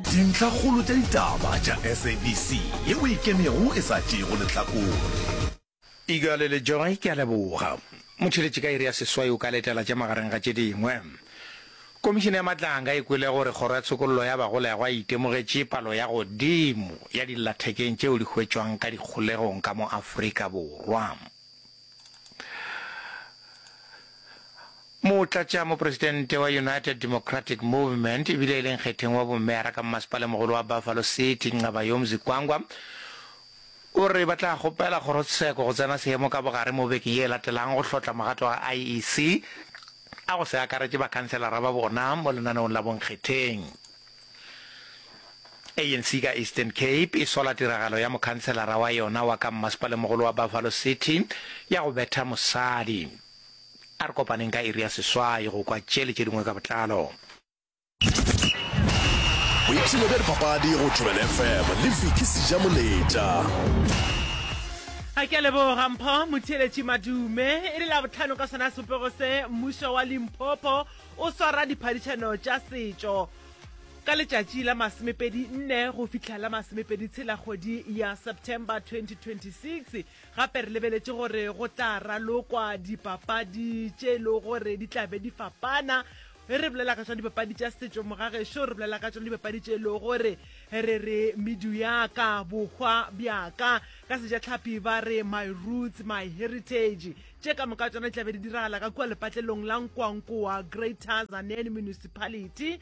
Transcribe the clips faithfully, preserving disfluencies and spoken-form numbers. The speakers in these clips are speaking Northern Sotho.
Dintlhakgolo tša ditaba tša S A B C yeo e ikemego e sa tšeego lehlakore. Igale le Joy, ke a leboga. Motheeletši, ka iri ya seswai o ka letela tša magareng ga tše dingwe. Komišene ya Matlanga e kwele gore Kgoro ya Tshokollo ya Bagolegwa e itemogetše palo ya godimo ya dillathekeng tšeo di hwetšwang ka dikgolegong ka mo Afrika Borwa. Motlatšamopresidente wa United Democratic Movement ebile e le nkgetheng wa bommeyara ka mmasepalemogolo wa Buffalo City, Nqabayomzi Kwankwa, o re ba tla kgopela kgorotsheko go tsena seemo ka bogare mo bekeng ye e latelang go hlotla magato a I E C a go se akaretše bakhanselara ba bona mo lenaneong la bonkgetheng. A N C ka Eastern Cape e sola tiragalo ya mokhanselara wa yona wa ka mmasepalemogolo wa Buffalo City ya go betha mosadi. A re kopaneng ka iri ya seswai go kwa tše le tše dingwe ka botlalo. Boipshino bja dipapadi go Thobela F M le Vicky Sejamoletša. A ke a leboga Mpho Motheeletši Madume. E le Labohlano ka sona sebopego se, mmušo wa Limpopo o swara diphadišano tša setšo ka letšatši la masomepedi nne go fihla la masomepedi tshela kgwedi ya September twenty twenty-six. Gape re lebeletše gore go tla ralokwa dipapadi tše e lego gore di tla be di fapana. Ge re bolela ka tšona dipapadi tša setšo mogagešo, re bolela ka tšona dipapadi tše e lego gore re re medu ya ka, bohwa bja ka, ka sejatlhapi ba re my roots, my heritage. Tše ka moka tšona di tla be di diragala ka kua lepatlelong la Nkwankoa, Greater Tzaneen Municipality.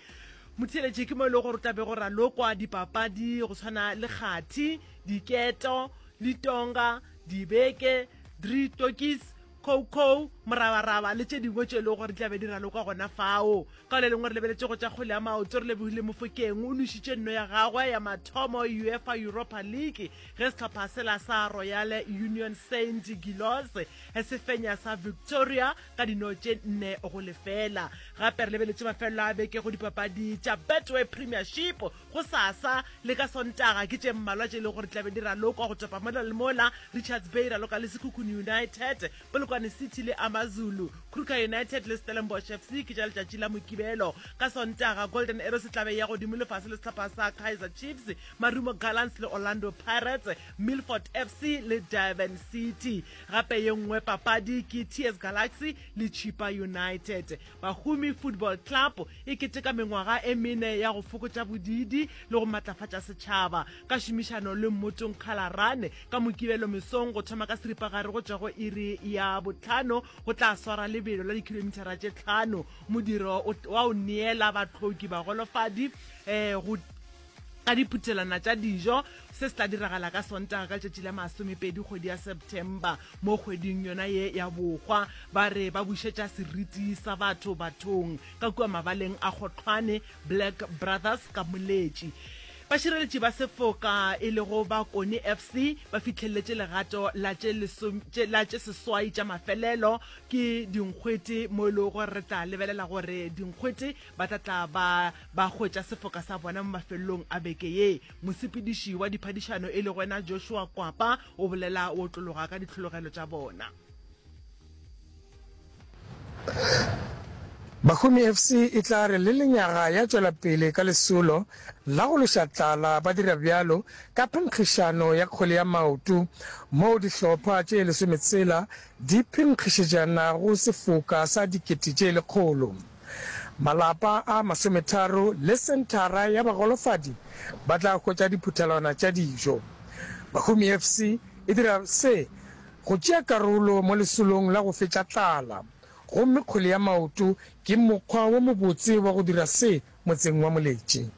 Motheeletši, ke mo e lego gore o tla be go ralokwa dipapadi go tshwana le kgathi, diketo, litonga, dibeke, drie tokis, coco, morabaraba le tše dingwe tše e lego gore di tla be di ralokwa gona fao. Ka le lengwe re lebeletše go tša kgwele ya maoto, re lebogile Mofokeng o nwešitše nno ya gagwe ya mathomo UEFA Europa League ge sehlopha sela sa Royal Union Saint Gilloise se fenya sa Victoria ka dino tše nne go lefela. Gape re lebeletše mafelelo a beke go dipapadi tša Betway Premiership. Go sasa le ka Sontaga ke tše mmalwa tše e lego gore tlabe di ralokwa go topa mola le mola. Richards Bay raloka le Sekhukhune United, Polokwane City le Amazulu, Kruger United le Stellenbosch F C ke tša letšatši la Mokibelo. Ka Sontaga Golden Arrows e tlabe ya godimo lefase le sehlopha sa Kaizer Chiefs, Marumo Gallants le Orlando Pirates, Milford F C le Durban City. Gape ye nngwe papadi ke T S Galaxy le Chippa United. Bahumi Football Club e keteka mengwaga e mene ya go fokotša bodidi le go matlafatša setšhaba ka šomišano le Mmotong Khalarane. Ka Mokibelo mesong go thoma ka seripagare go tšwa go iri ya botlhano go tla swara lebelo la dikhilomithara tše tlhano, modiro wa o neela batlhoki bagolofadi um go ka diphuthelwana tša dijo. Se se tla diragala ka Sontaga ka letšatši la masomepedi kgwedi ya September mo kgweding yona ye ya bohwa. Ba re ba bušetša seriti sa batho bathong ka kua mabaleng a Kgotlhwane Black Brothers ka Moletši. Bašireletši ba sefoka e lego Bakone F C ba fihlelletše legato la tše seswai tša mafelelo ke dinkgwete, mo e lego gore re tla lebelela gore dinkgwete ba tla tla ba ba hwetša sefoka sa bona mo mafelelong a beke ye. Mosepediši wa diphadišano e lego wena Joshua Kwapa o bolela o otlologa ka ditlhologelo tša bona. Bahumi F C e tla re le lenyaga ya tšwela pele ka lesolo la go lweša tlala, ba dira bjalo ka phenkgišano ya kgwele ya maoto moo dihlopha tše lesometshela di phenkgišetšanago sefoka sa dikete tše lekgolo. Malapa a masometharo le senthara ya bagolofadi ba tla hwetša diphuthelwana tša dijo. Bahumi F C e dira se go tšea karolo mo lesolong la go fetša tlala, gomme kgwele ya maoto ke mokgwa wo mobotse wa go dira se motseng wa Moletši.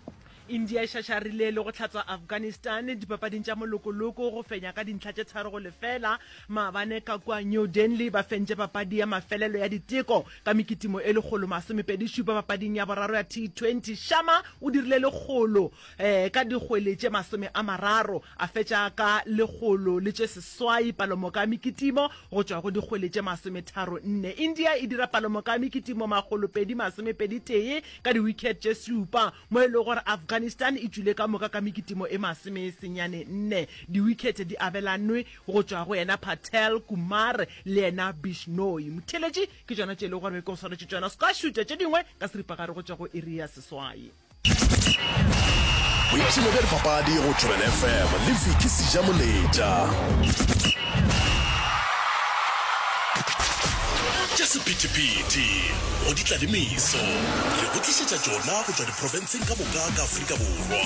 India e šašarile le go hlatswa Afghanistan dipapading tša molokoloko go fenya ka dintlha tše tharo go lefela maabane ka kua New Delhi. Ba fentše papadi ya mafelelo ya diteko ka mekitimo e lekgolo masomepedi šupa. Papading ya boraro ya T twenty, Shama o dirile lekgolo um ka dikgwele tše masome a mararo, a fetša ka lekgolo le tše seswai palomoka ya mekitimo go tšwa go dikgwele tše masometharo nne. India e dira palomoka ya mekitimo makgolopedi masomepedi tee ka di-wicket tše šupa, mo e lego gore Afghanistan e tšwile ka moka ka mekitimo e masome senyane nne. Di-wicket di abelanwe go tšwa go yena Patel Kumar le yena Bishnoi. Motheletši, ke tšona tše e lego gore be ke go swaretše tšona. Se ka šutša tše dingwe ka seripagare go tšwa go iri ya seswai. Boipshino bja dipapadi go Thobela FM le Vicky Sejamoletša. Tša sephethephethe go di tla le meso. Re go tlišetša tšona go tšwa diprofenseng ka moka ka Afrika Borwa.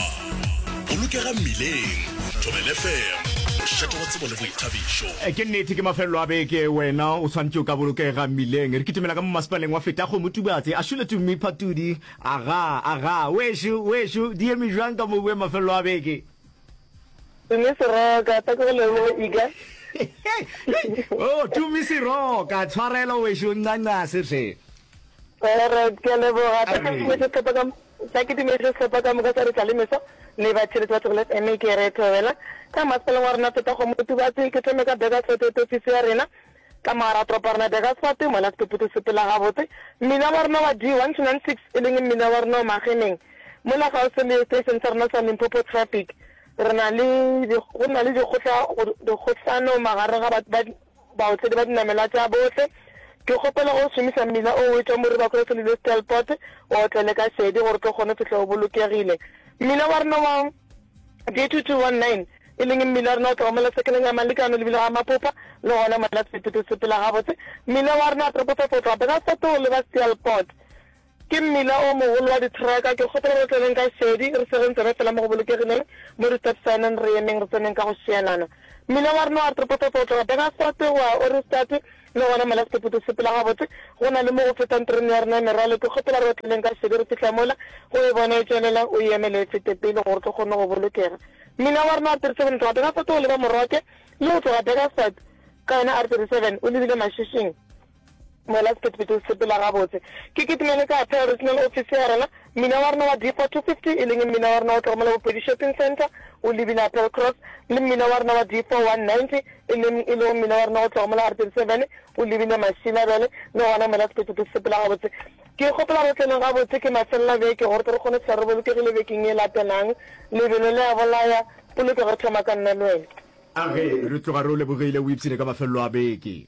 Bolokega mmileng. Thobela FM, mošate wa tsebo le boithabišo. Ke nnete ke mafelelo a beke wena o swanetše o ka bolokega mmileng. Re kitimela ka mo masepaleng wa Fetakgomo Tubatse a šole Tumi Phatudi. Aga, aga, wešo, wešo, di eme bjang ka mo boe mafelelo a beke? Tumi Seroka, ta ke go leboge Iga. Oh, Tumi Seroka, tshwarelo wešo, ncancase hle. Alright, ke a leboga. Ta ke dumediše sehlopha ka ta ke dumediše sehlopha ka moka sa Re Tla Le Meso le batheeletši ba Thobela F M ke re thobela ka masepaleng wa rena Fetakgomo Tubatse. Ke thome ka Burgersfort ofisi ya rena ka mogare ga toropo ya rena Burgersfort mola sephephetho se sepela gabotse. Mmila wa rena wa D one two nine six e leng mmila wa rena wa Mageneng mola kgauswi le station sa rena sa Limpopo Traffic re na le go na le dikgohla dikgohlano magareng ga batho ba baotledi ba dinamelwa tša bohle. Ke kgopela go šomiša mmila o o etšwa Moriba Cross le Steelpoort o otlele ka šedi gore o tlo kgone go fihla o bolokegile. Mmila wa rena wa D two two one nine e leng mmila wa rena o tloga mola sekeleng ya Malekano lebile ga Mapopa le gona mola sephephetho se sepela gabotse. Mmila wa rena wa Triple Five o tloga Burgersfort o leba Steelpoort. Ke mmila o mogolo wa dithraka. Ke kgopela re tseneng ka šedi, re segeng tsebe fela mo go bolokegileng, mo di-stop sign-eng re emeng, re tseneng ka go šielana. Mmila wa rena wa Triple Five o tloga Burgersfort go ya Ohrigstad, le gona mola sephephetho se sepela gabotse. Go na le mo go fetang terene ya rena ya merwalo. Ke kgopela re otleleng ka šedi re fihla mola, go e bona e tšwelela, o e emele e fete pele gore re tlo kgone go bolokega. Mmila wa rena wa R thirty-seven o tloga Burgersfort go leba Moroke, le go tloga Burgersfort ka yona R thirty-seven o lebile Mashishing. Mola sephethephethe se sepela gabotse. Ke kitimele ka Appeal Regional Office ya rena. Mmila wa rena wa D four two fifty, e leng mmila wa rena wa tloga mola Bopedi Shopping Centre o lebile Appeal Cross, le mmila wa rena wa D four one ninety, e leng e lego mmila wa rena wa tloga mola R thirty seven o lebile Mashilabele, le gona mola sephethephethe se sepela gabotse. Ke kgopela re tleleng gabotse ke mafelelo a beke gore tle re kgone go fihla re bolokegile bekeng ye latelang. Lebelo le a bolaya, polokego e thoma ka nna le wena. A ge re tloga re o lebogile, o ipshine ka mafelelo a beke.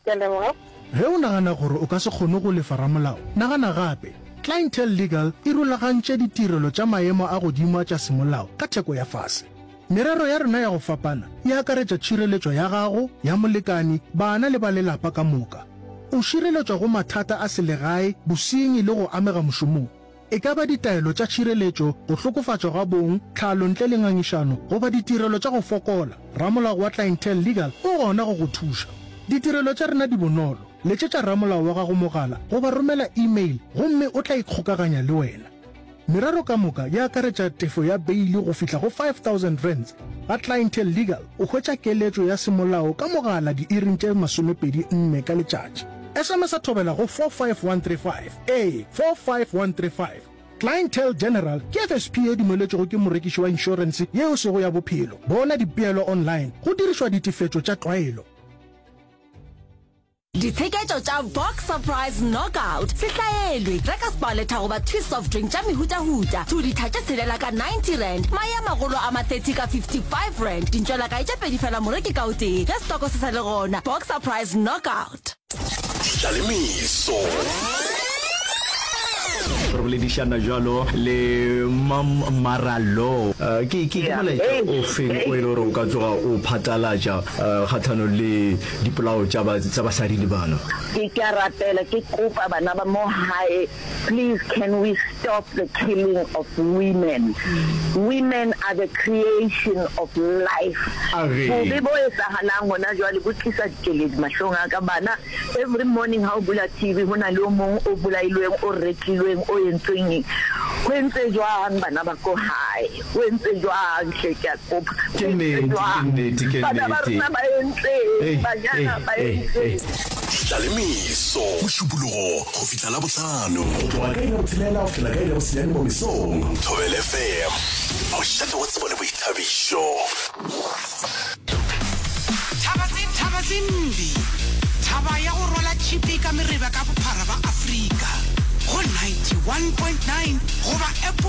Ke a leboga. Ge o nagana gore o ka se kgone go lefa ramolao, nagana gape. Clientele Legal e rulagantše ditirelo tša maemo a godimo a tša semolao ka theko ya fase. Merero ya rena ya go fapana e akaretša tšhireletšo ya gago, ya molekani, bana le ba lelapa ka moka. O šireletšwa go mathata a selegae, bosenyi le go amega mošomong. E ka ba ditaelo tša tšhireletšo, go hlokofatšwa ga bong, tlhalo ntle le ngangišano, goba ditirelo tša go fokola, ramolao wa Clientele Legal o gona go go thuša. Ditirelo tša rena di bonolo. Letšetša ramolao wa gago mogala goba romela e-mail gomme o tla ikgokaganya le wena. Merero ka moka e akaretša tefo ya beili go fihla go five thousand rands. Ga Clientele Legal o hwetša keletšo ya semolao ka mogala diiring tše masomepedi nne ka letšatši. S M S a thobela go four five one three five, ee, four five one three five. Clientele General ke F S P ye dumeletšwego ke morekiši wa inšorense ye e sego ya bophelo. Bona dipeelo online go dirišwa ditefetšo tša tlwaelo. Ditsheketšo tša Box Surprise Knockout se hlaelwe. Reka Sparletta goba Twist soft drink tša mehutahuta, two litha tše tshelela ka ninety rand, mae a magolo a ma thirty ka fifty five rand, dintšwelakae tše pedi fela moreki ka o tee, ge setoko se sa le gona. Box Surprise Knockout. Tlalemeso. Re boledišana bjalo le Mam Maralo. Ke, ke, ke molaetša o feng o e le gore o ka tsoga o phatlalatša kgahlanong le dipolao tša ba, tša basadi le bana? Ke, ke a rapela, ke kopa bana ba mo hae, please can we stop the killing of women? Women are the creation of life. A re. Bobe bo etsahalang hona jwale bo tlisa dikeledi mahlong a ka. Bana, every morning ha o bula T V ho na le o mong o bolailweng, o rekilweng, o entsweng eng. Ho entse jwang bana ba ko hae? Ho entse jwang hle ke a kopa? Ke Ho entse nnete, ke jwang? nnete, ke Bana ba nnete. rona ba entseng? Ei, ei, Banyana ba ei, ei. entseng? Tlalemeso, Mošupologo go fihla Labohlano, go tloga ka iri ya botshelela go fihla ka iri ya bosenyane mo mesong. Thobela F M, mošate wa tsebo le boithabišo. Thaba tse, thaba tse mbi. Thaba ya go rwala tšhipi ka mereba ka bophara ba Afrika. Go ninety one point nine goba app